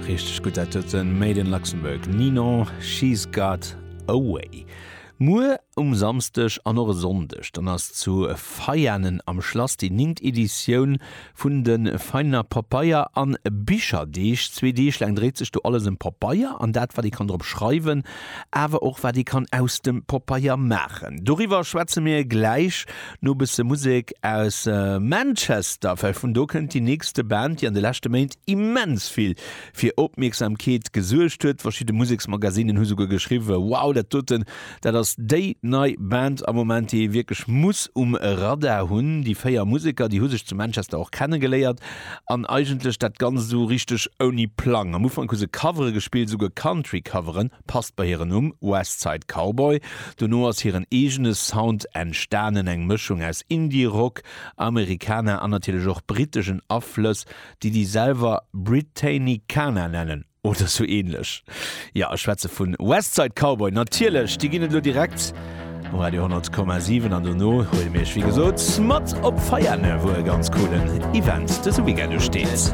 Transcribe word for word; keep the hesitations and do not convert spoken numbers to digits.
Richteg gutt dat doten, Made in Luxembourg, Ninon, She's Got a Way. Muer um Samsdeg an och e Sonndeg, dann ass zu Veianen am Schlass déi ningt Editioun vun de Veianer Pabeier an Bicherdeeg. Zwee Deeg laang dréit sech do alles ëm Pabeier an dat wat ee kann drop schreiwen, awer och wat ee kann aus dem Pabeier maachen. Doriwwer schwätze mir gläich no bësse Musek aus Manchester, well vun do kënnt déi nächste Band, déi an de leschte Méint immens vill fir Opmierksamkeet gesuergt huet. Verschidde Museksmagasinen hu souguer geschriwwen, Wow, dat doten, dat ass déi nei Band am Moment, déi ee wierklech muss um Radar hunn. Déi véier Museker, déi hu sech zu Manchester och kennegeléiert an eigentlech dat Ganzt esou richteg ouni Plang. Am Ufank hu se Covere gespillt, esouguer Country-Coveren, passt bei hiren Numm, Westside Cowboy. Dono ass hiren eegene Sound entstanen, eng Mëschung aus Indie-Rock, Americana an natierlech och britteschen Aflëss, déi déi selwer Britannicana nennen oder sou ähnlech. Jo, ech schwätze vun Westside Cowboy natierlech. Déi ginn et elo direkt um Radio honnert Komma siwen an dono huele mir iech wéi gesot mat op Veiane, wou e ganz coolen Event dëse Weekend usteet.